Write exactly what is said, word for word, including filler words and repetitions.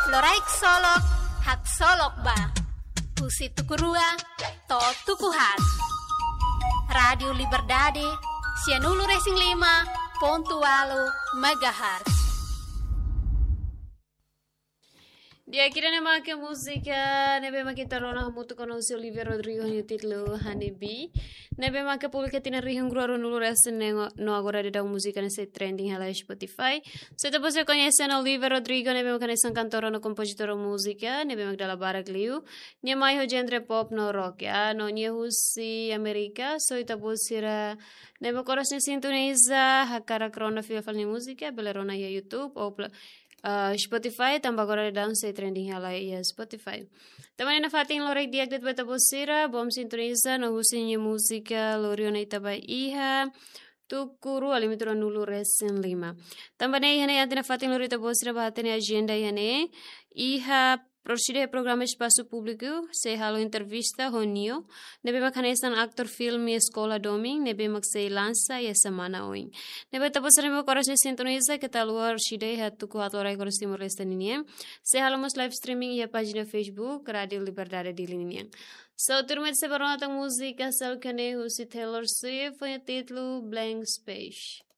Loraik solok, haksolok ba. Husi tuku rua to'o tuku haat. Rádiu Liberdade, sianulu-resin-lima pontu ualu megahertz. Di'ak, ida-ne'e mak múzika ne'ebé mak ita rona hamutuk ho Olivia Rodrigo nia títulu Honeybee. Ne'ebé mak publika tinan rihun rua ruanulu-resin-neen no agora daudaun múzika ne'e sei trending hela iha Spotify. Se ita-boot sira koñese Olivia Rodrigo, ne'ebé mak hanesan kantora no kompozitora múzika ne'ebé mak dala barak liu. Nia mai ho genre pop no rock, ya. No nia husi Amérika, so ita-boot sira ne'ebé mak oras ne'e sintoniza, hakarak rona fila fali nia múzika, bele rona iha YouTube ou pla-, ah, Spotify, tanba agora daudaun sei trending hela iha Spotify. Tanba ne'e nafatin loraik di'ak de'it ba ita-boot sira, bom sintoniza no husu nia múzika lori ona ita ba iha tuku rua limite ruanulu-resin-lima. Tanba ne'e iha ne'e atu nafatin lori ita-boot sira ba hatene ajenda iha ne'e. Iha Roshida iha programa Espasu Públiku sei halo entrevista ho Nio, ne'ebé mak hanesan atór filme Eskola Domin, ne'ebé mak sei lansa iha semana oin. Ne'ebé ita-boot sira ne'ebé mak oras ne'e sintoniza, keta haluha Roshida iha tuku haat loraik oras Timor-Leste ninian sei halo mós live streaming iha pájina Facebook Rádiu Liberdade Dili ninian. So, tuirmai ita sei bá rona tan múzika seluk ne'e husi Taylor Swift, ho nia títulu Blank Space.